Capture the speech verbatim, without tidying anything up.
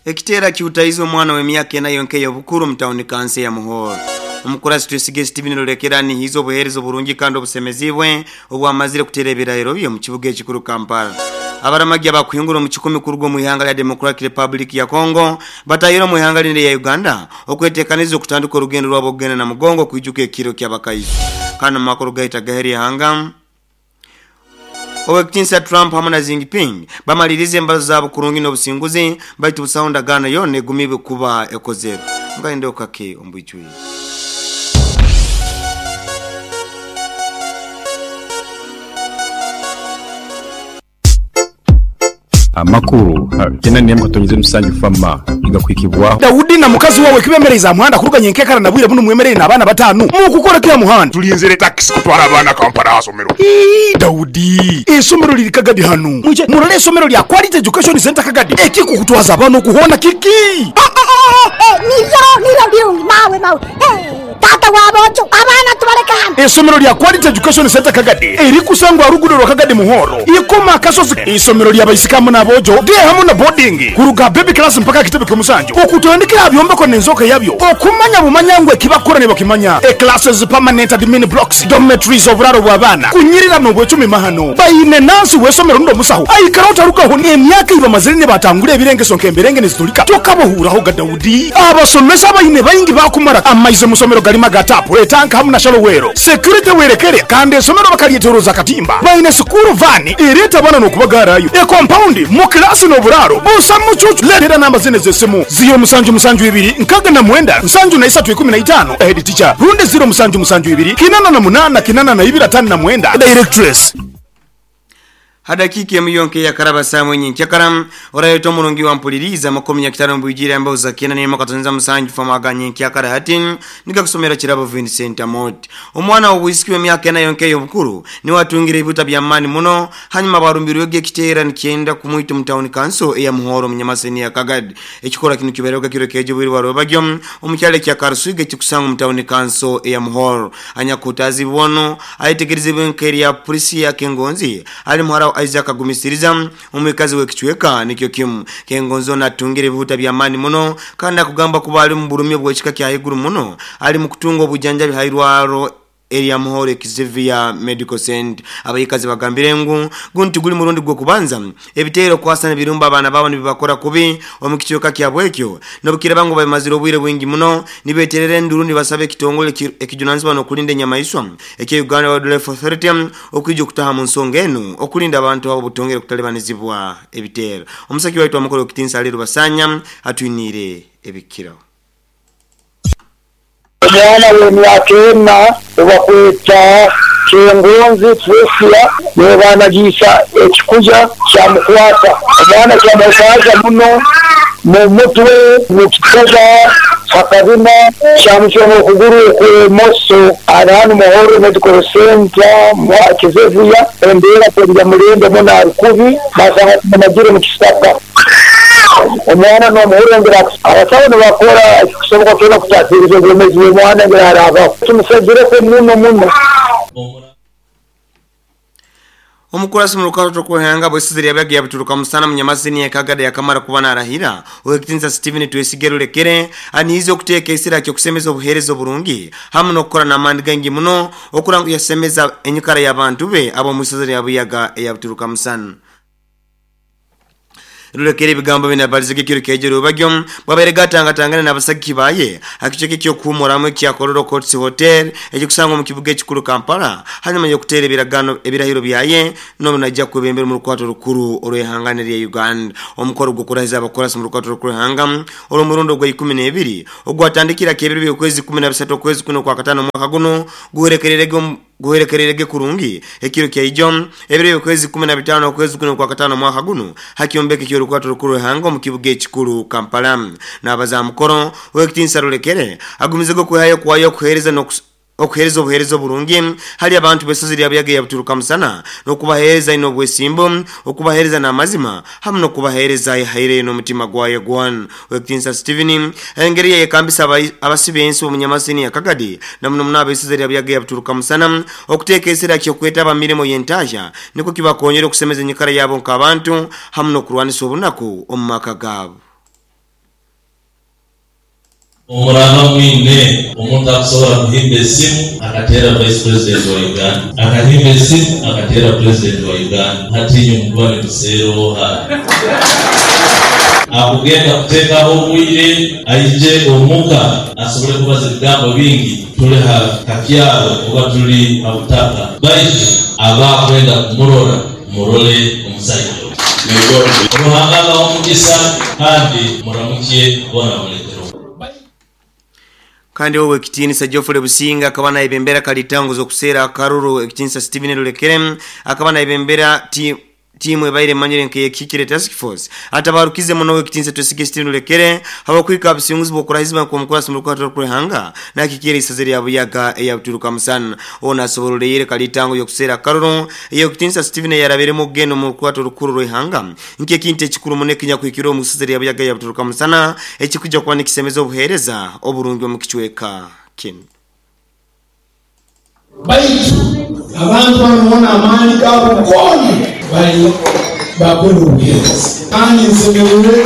Ekitera kiutaiza omwana w'emyaka ena yonka ey'obukuru mu tawuni kansi ya Muhoro. Omukurasi Twesige Steven Rulekera nihiza obuheereza oburungi kandi obusemezibwe obwamazire kutera ebirahiro bye mu kibuga ekikuru Kampala. Abaramagi abakuhingura omu kikumi kuruga omu ihanga lya Democratic Republic ya Congo batahire omu ihanga lindi ya Uganda okwetekaniza okutandika orugendo rwabo okugenda na Mugongo kwijuka ekiro ky'abakaiso. Kandi mu makuru gaita gaheri ihanga, Owekitinsa Trump hamwe na Jinping bamalirize embazo zabo kurungi n'obusinguzi, baitu busaho ndagaano yona egumibwe kuba ekozerwe. Ngainde okake ombwijwi. Amakuru tena ni mkatonyize musanju fama igakwikibwa Daudi na mukazi wawe kibemereza muhanda kuruganya enkekara na bwire buno mwemerere n'abaana batanu mukukora kya muhanda tulinzire taxi kutwara abaana Kampala asomero. Ii, Daudi esomero liri Kagadi hanu muje murole esomero lya Quality Education Center Kagadi ekikukutwaza abaana okuhona kiki niyo niyo birungi mawe mawe tata wabojo abaana tubaleka hano. Esomero lya Quality Education Center Kagadi erikusangwa rugudo rwa Kagadi Muhoro ikoma akasozi. Isomero lya baisikamu n'abojo de hamwe na boarding kuruga baby class mpaka kitebe ky'omusanju okutandikira byombeko n'enzoka yabyo okumanya bumanya ekibakora ne bakimanya. E classes, permanent admin blocks, dormitories, oburaro bw'abaana kunyirira n'obwecumi mahano bayine nansi w'esomero ndo musaho aikara otarugaho emyaka ibamazire ne batangura ebirengeso nk'emberenge nezitulika tokabohuraho ga Daudi. Abasomesa bayine bayingi bakumara amaize musomero galima gatapu etanka hamwe na shalowero security werekere kandi esomero bakalyeteroza katimba bayine sukuru vani ereta abana n'okubagarayo e compound mu klasi n'oburaro busa mucucu. Letera namba zine z'esimu ziro musanju musanju ibiri nkaga na mwenda nsanju na isatu ikumi na itano head teacher runde ziro musanju musanju ibiri kinana na munana kinana na ibiri atano na mwenda directress. Hadakiki ya miyonke ya karaba saa mwenye nkyakaram orayoto mulungi wa mpuliriza makomi ya kitano mbujira ambao za kena ni makatonza musanju famaga nyenkyakara hatin nika kusomera chirabo Vincent Amot. Omwana obwisiki wa myaka ena yonke y'obukuru ni watungire ibibuta bya mani muno hanyuma barumbirwege ekiteera nikyenda kumwita mu town council eya Muhoro munyamaseni ya Kagadi. Ekikora kino kibereoga kiro kejo bwiri warobagyo omukyalo kya Karuswiga ekikusanga mu town council eya Muhoro. Anyakutazi bono aitegerezebwe nkeri ya polisi ya Kengonzi ali muhara Isaac agumisiriza omwikazi w'ekichweka nikyo kimu. Kengonzo natungire bibuta bya mani muno kandi akugamba kuba ali mu burumye bw'ekika kya higuru muno ali mu kutunga obujanjabi hairwaro area Muhoro Xavier Medical Center. Abayikazi bagambire ngu gunti guli murundi gwo kubanza ebitero kwasana birumba abana babo nibibakora kubi omukichoka kyabwekyo nobukira bangu bamazira obwire bwingi muno nibeterere nduru nibasabe ekitongole ekijunanzibwa nokulinda enyamaiswa ekye Uganda Wildlife Authority okwijja okutaha mu nsonga eno okulinda abantu abo butongere kutalebanizibwa ebitero. Omusaki waitu amukolo kitinsa alero basanya atwinire ebikiro. Omwana w'emyaka ena obakweta Kengonzi Tresia nebanagisa ekikuja kyamukwata omwana kyamukwata muno mu mutwe mu kikuja hakabina kyamukyoma okuguru okw'emoso ari hano Muhoro Medical Center mwa Kizevuya embeera terya murembe muno ari kubi basanga tumagire mu kisaka. Omwana n'omuhurengera abasawo nibakora ekikusoboka kyona kutaasiriza obwomeezi bw'omwana ngira harabaho tumusagireko muno muno. Omukurasi mu rukato kuhanga bwesiziri yabyaga yabituruka musana munyamasini ya Kagadi yakamara kuba narahira owekitinsa Steven Twesige Rulekere anihize okuteeka esira kyo kusemeza obuheereza oburungi hamwe n'okukora n'amaani gangi muno okuranga yasemeza enyikara y'abantu be abo musiziri yabuyaga eyabituruka musana. Rulekere ebigambo binabalizege kiro kejero bagyo bwabaire gatangatangana n'abasagi baye akicheke kyo kuhumuramu ekya Kololo Courts Hotel ekikusangwa mu kibuga ekikuru Kampala hanyuma yo kutera ebiragano ebirahiro byaye n'obunajja kwebembera mu rukwato rukuru olw'ehangane lya Uganda. Omukoro gw'okurahiza abakorasi mu rukwato rukuru hanga olw'omurundo gwa ikumi n'ebiri ogwatandikira kebiri by'okwezi kumi na bisatu okwezi kuno kwa katano mwaka guno guherekererege guherekererege kurungi ekiro kya ijo ebiri okwezi kumi na bitano okwezi kuno kwa katano mwaka guno hakiombeke kyo rukwato rukuru hanga mu kibuga ekikuru Kampala. N'abaza mukoro owekitinsa Rulekere agumizego kuhayo kwayo kuhereza no okuhereza obuhereza oburungi hali abantu besozi lya yabituruka musana nokubahereza ino bwesimbo okubahereza n'amazima hamwe nokubahereza ihaire n'omutima gwayo gwan. Owekitinsa Steven engeri yekambisa abasibe ensi omunyamasini ya Kagadi namuno muno abesozi lya yabituruka musana okuteeka esira kyo kwetaba mirimo y'entasha niko kibakonyera okusemeza enyikara yabo nk'abantu hamwe n'okurwanisa obunaku omu maka gaabo. Omuraba mwine omuntu akusobola kuhimba esimu akateera vice president wa Uganda, akahimba esimu akateera president wa Uganda. Hati mukuba nituseeroha akugenda kuteekaho obwire aije omuka asobole kubaza ebigambo bingi. Tuli ha kakyaro oba tuli ha butaka, baitu abakwenda kumurora murole omusajja Ruhanga abahe omugisa kandi muramukye bona muletero. Kandi wowe ekitiinisa Geoffrey Businga akaba naibembera kalitango zokuseera akaruru ekitiinisa Steven Lulekere akaba naibembera ti timu ebaire manyire nke yekikire task force atabarukize muno ekitiinisa Twesige Steven Lulekere habakwika abisinguzi bokurahizima ku mukwasi mu rukwato rw'ihanga nakikire isazeri ya Buyaga eya Buturuka musana ona asoboroleyere kalitango yokuseera akaruru eyo ekitiinisa Steven yarabere mu gendo mu rukwato rukuru rw'ihanga nke kinte ekikuru muneke nyakwikiro mu isazeri ya Buyaga ya Buturuka musana ekikuja kwa nikisemeza obuhereza oburungi mu kichweka kinu. Baitu abantu bamubona amaani gabo gona bali bakora obuheereza kandi nsemererwe.